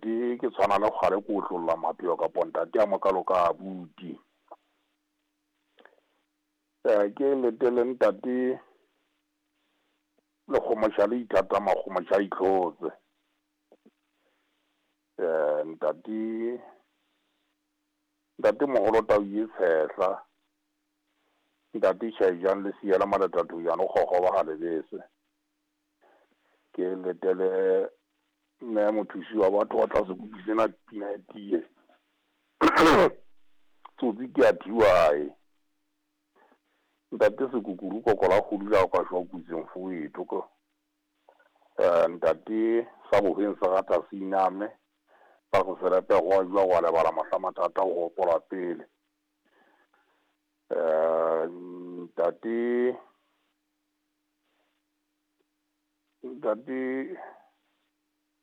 Ntate ke tshwana le kgale ke otlolla mapheo kapo ntate a mokalo ka abuti. Ke letele ntate Lekgomosha le ithata makgomosha a itlhotse. Ntate ntate moholo tau ye tshehla. Ntate Shaijang le siela maletathojana o kgokgoba ga lebese. Ke letele mme mothusi wa batho wa tla sekupi sena pina e tie. Tsotsi ke a thiwae. Ntate Sekukuru kokola kgodu la ka shwa kutseng fowetho ko. Ntate sa bohweng se rata se iname. Ba go selepe go a jwa go a lebala mohla mathata o gopola pele. Ntate ntate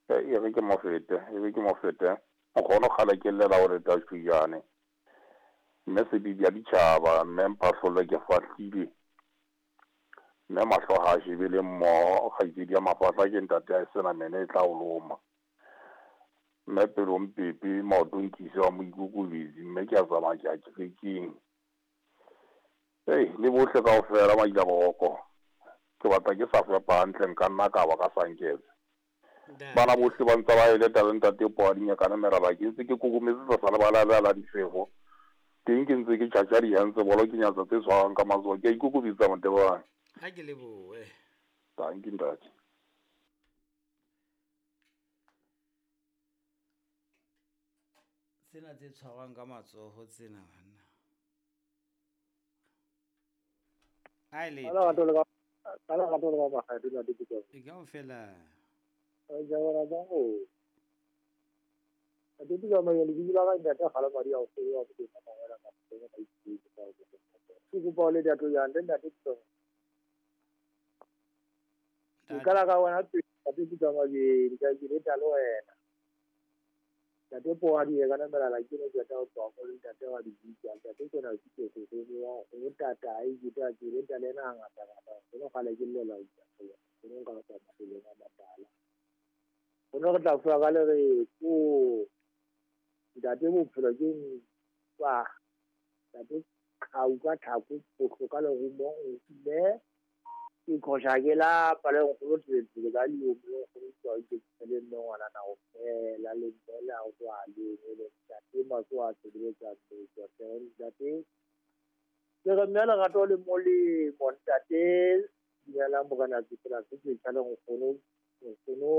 e re ke mo fete, e re ke mo fete. Nkgono kgale ke llela gore tashujane. Mme sebibi ya ditšhaba, mme mphahlole ke fahlile. Mme mahlo ga a shebele mmoho, kgaitsedi ya mafahla ke ntate a sena mene e tla o loma. Mme pelong pepe, maotong nkise wa moikokobetsi, mme ke a tsamaya ke ya kerekeng. Ei, le bohle kaofela maila boroko. Ke batla ke sa fepa hantle nka nna ka ba ka sanketse. Bana bohle ba ntse ba eleta le ntate Poa dinyakane meraba ke ntse ke kokometse tlasa lebala la la difefo. Teng ke ntse ke tjhatja dihentse bolo ke nyatsa tse tshwarang ka matsoho. Ke a ikokobetsa Motebane. Ha ke lebohe. Dankie ntate. Tsena tse tshwarwang ka matsoho tsena banna. Ai le. Ka lerato le ka ka lerato le ka makgetho ntate Peter. E kaofela. Re jabela jang o. Ntate Peter Mayo lebitso la ka ntate Kgale Madi a o fele wa Modimo Mangwela ka Mokgweng ka Itshwetse ka o Ke kopa o le dato yang le ntate Peter. Ke qala ka wena pele ntate Peter Mabedi ka ke leta le wena. Ntate Poadi e ka namelala ke ne ke tla o tloha mo le ntate wa lebitso ntate ke na ke ke ke wa o tata ai ke tla ke leta le ena ngata ngata ke no kgale ke llela o ke no nka ka mafelong a matala. Go ne re tla fuwa ka le re ko ntate bophelo ke ntwa ntate qhau ka tlhako bohlo ka lerumo mme ke qhosha ke lapa le nkgono tswetse ka liomo le nkgono tswa ke le mme ngwana na o fela le mme le a tswa le le ntate matso a sebeletsa tswa ntate ke re mme lerato le molemo ntate dumelang morena tsela se ke tla le nkgono nkgono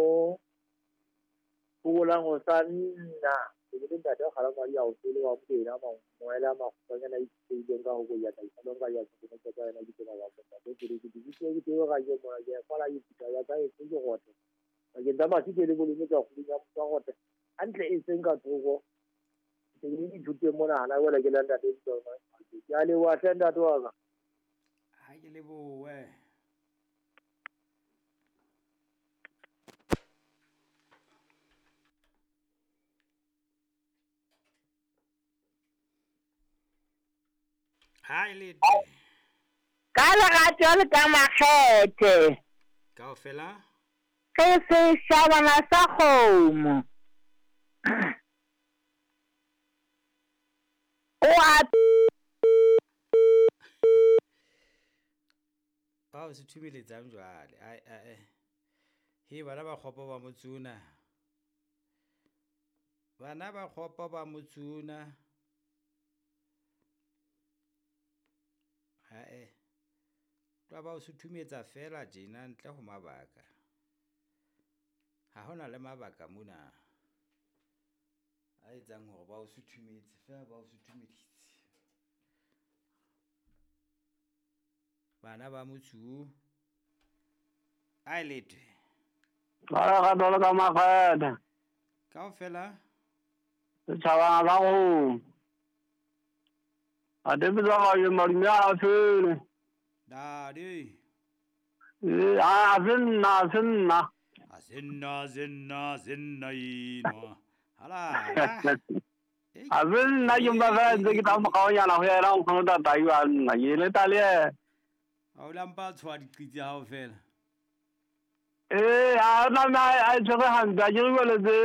phokolang ho sa nna ke le ntate kgala madi a o fele wa modena mangwela makgutshwanyana a itsheileng ka ho ya ka isalong ka ya ke ne ka yena ke tsena ba ntate ke ke ke ke ke ga ke mona ke fala ke phutha ya ka e se ke gote bakeng tsa masike le bolome tsa kgolong ya motho gote hantle e seng ka thoko ke ke ithute mona hana wela ke la ntate ke a leboha hle ntate wa ka. Ha ke lebohe. Ha e le Ka lerato le ka makgethe. Kaofela. Re seshabana sa kgomo. O a Bao se thumeletsang jwale. Ai ai. He bana ba kgopo ba motsuna. Bana ba kgopo ba motsuna. Hae. Tla ba o suthumetsa fela tjena ntle ho mabaka. Ha hona le mabaka mona. A etsang hore ba o suthumetse fela ba o suthumeditse. Bana ba motsu. Ai letwe. Ba lerato le ka makgethe. Kaofela. Setjhabana sa kgomo. Ate Peter Mayo madume a fele. Dadi. A se nna, a se nna. A se nna, a se nna, a se nna enwa. Hala. A se nna ke mpa fela ntse ke tla mo kgaonyana ho yena nkgono tatai wa nna. Ke leta le yena. Ha o la mpa tshwa diqitsi hao fela. Ee, a tlameha a e tshwere hantle, a ke re jwale tse.